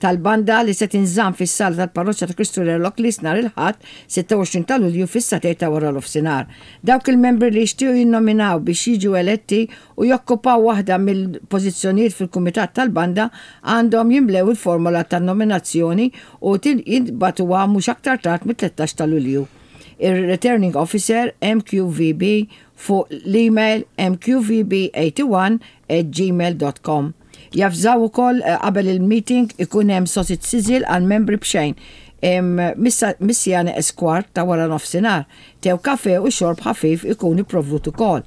tal-banda li se tinżamm fis-sala tal-Parroċċa ta' Kristu Re Lockleys nhar il-Ħadd 26 ta' Lulju fis-sagħtejn ta' waranofsinhar. Dawk il-membri li jixtiequ jinnominaw biex jiġu eletti u jokkupaw waħda mill-pożizzjonijiet fil-kumitat tal-banda għandhom jimlew il-formola tan-nominazzjoni u jintbagħtuha mhux aktar tard mit-13 ta' Lulju. Ir-Returning Officer, MQVB, fuq l-email mqvb81 at gmail dot com. Javżaw ukoll qabel il-meeting ikun hemm sausage sizzle għall-membri b'xejn mis-siegħa neqes kwart ta' wara nofsinhar. Te u kafè u xorb ħafif ikun ipprovdut ukoll.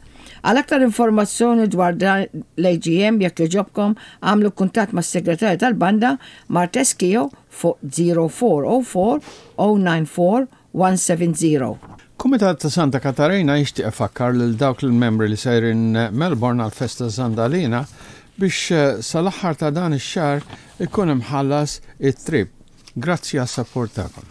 Għal aktar informazzjoni dwar dan l-AGM jekk jogħġobkom agħmlu kuntatt mas-Segretarja tal-Banda Marthe Schio fuq 0404 094 170. Kumitat ta' Santa Katarina jixtieq ifakkar lil dawk l-membri li sejrin Melbourne għall-festa Zandalina biex eh, sal-aħħar ta' dan ix-xahar ikun imħallas it-trip. Grazzi għas-sapport tagħkom.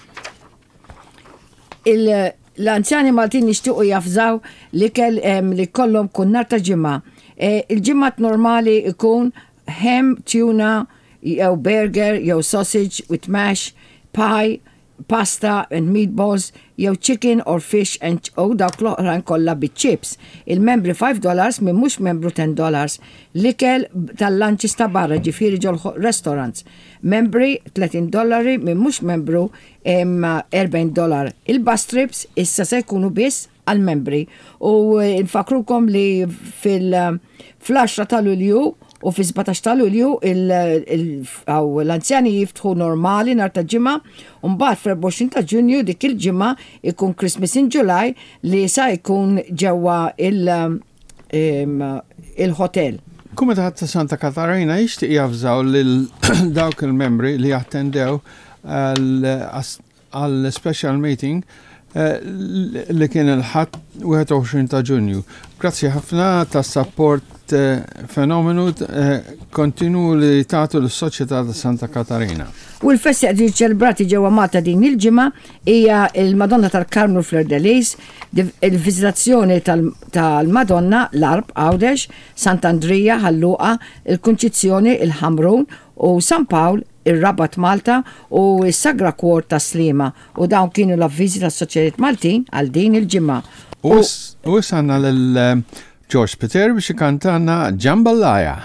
L-anzjani Maltin jixtiequ jafżaw l-ikel li kollhom kull nhar ta' ġimgħa. E, il-ġimgħat normali ikun ham, tuna, jew burger, jew sausage with mash, pie, pasta and meatballs jew chicken or fish and u dawk l-oħrajn kollha biċ-chips. Il-membri 5 dollars min mhux membru 10 dollars. L-ikel tal-lunches ta' barra ġifieri ġol restaurants. Membri 30 dollari min mhux membru 40 dollar. Il-bus trips issa se jkunu biss għall-membri u nfakrukom li fil- fl-10 ta' Lulju u fis-17 ta' Lulju l-anzjani jiftħu normali nhar ta' Ġimgħa u mbagħad fl-24 ta' Ġunju dik il-ġimgħa ikun Christmas in July li sa jkun ġewwa il-hotel. Kumitat ta' Santa Katarina jixtieq javżaw lil dawk il-membri li attendew għal special meeting eh, li kien il-ħadd 21 ta' Ġunju. Grazzi ħafna tas sapport eh, fenomenu eh, kontinu li tagħtu l-Soċjetà ta' Santa Katarina. U l-festi qed ċelebrati ġewwa Malta din il-ġimgħa hija il-Madonna tal-Karmnu Fleur de Lis, il-Viżitazzjoni tal-Madonna l-Għarb Għawdex, Sant'Andrija Ħal Luqa, il-Kunċizzjoni il-Ħamrun u San Pawl ir-Rabat Malta u s-Sagra Cuor tas-Sliema u dawn kienu l-avviżi tas-Soċjetajiet Maltin għal din il-ġimgħa. U issa għandna lil George Spiteri biex ikantalna Jambalaya.